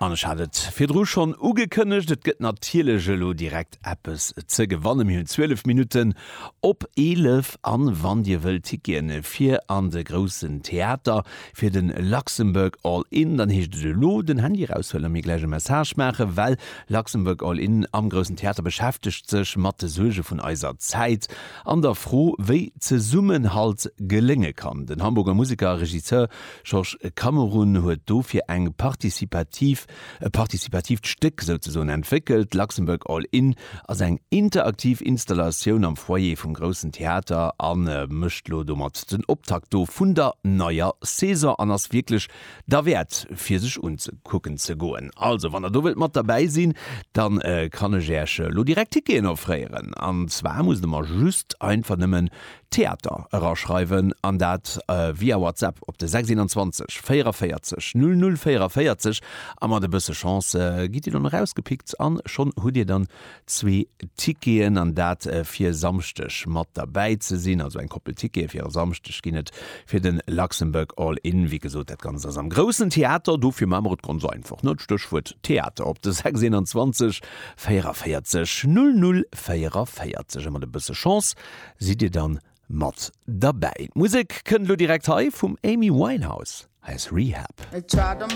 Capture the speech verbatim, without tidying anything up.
An ech hat et virdru schonn ugekënnegt, et gëtt natierlech elo direkt eppes ze gewannen. Mir hunn zwielef Minutten op eelef an wann Dir wëllt Ticketen fir an de Groussen Theater fir de Luxembourg All In, dann heescht et elo den Handy eraushuelen a mir gläich e Message maachen, well Luxembourg All In am Groussen Theater beschäftegt sech mat de Suerge vun eiser Zäit an der Fro, wéi Zesummenhalt gelénge kann. Den Hamburger Museker a Regisseur Georges Cameron huet dofir eng partizipativ e partizipatiivt Stéck souzesoen entwéckelt. Luxembourg All In ass eng interaktiv Installatioun am Foyer vum Groussen Theater a mécht lo domat den Optakt do vun der neier Saison an ass wierklech derwäert fir sech unzekucken ze goen. Also wann der do wëllt mat derbäi sinn, dann kann ech Äech lo direkt Ticketen offréieren. An zwar musst der mer just einfach nëmmen Theater eraschreiwen an dat via WhatsApp op de sechs einundzwanzeg véierunvéierzeg null null véierunvéierzeg a mat e bësse Chance gitt Dir dann erausgepickt an schonn hutt Dir dann zwee Ticketen an dat fir Samschdeg mat derbäi ze sinn. Also eng Koppel Tickete fir e Samschdeg ginn et fir de Luxembourg All In. Wéi gesot, dat Ganzt ass am Groussen Theater, dofir maache mer et ganz einfach, ne? D'Stéchwuert Theater op de sechs einundzwanzeg véierunvéierzeg null null véierunvéierzeg a mat e bësse Chance sidd Dir dann mat derbäi. D'Musek kënnt elo direkt hei vum Amy Winehouse, hei ass Rehab. They tried them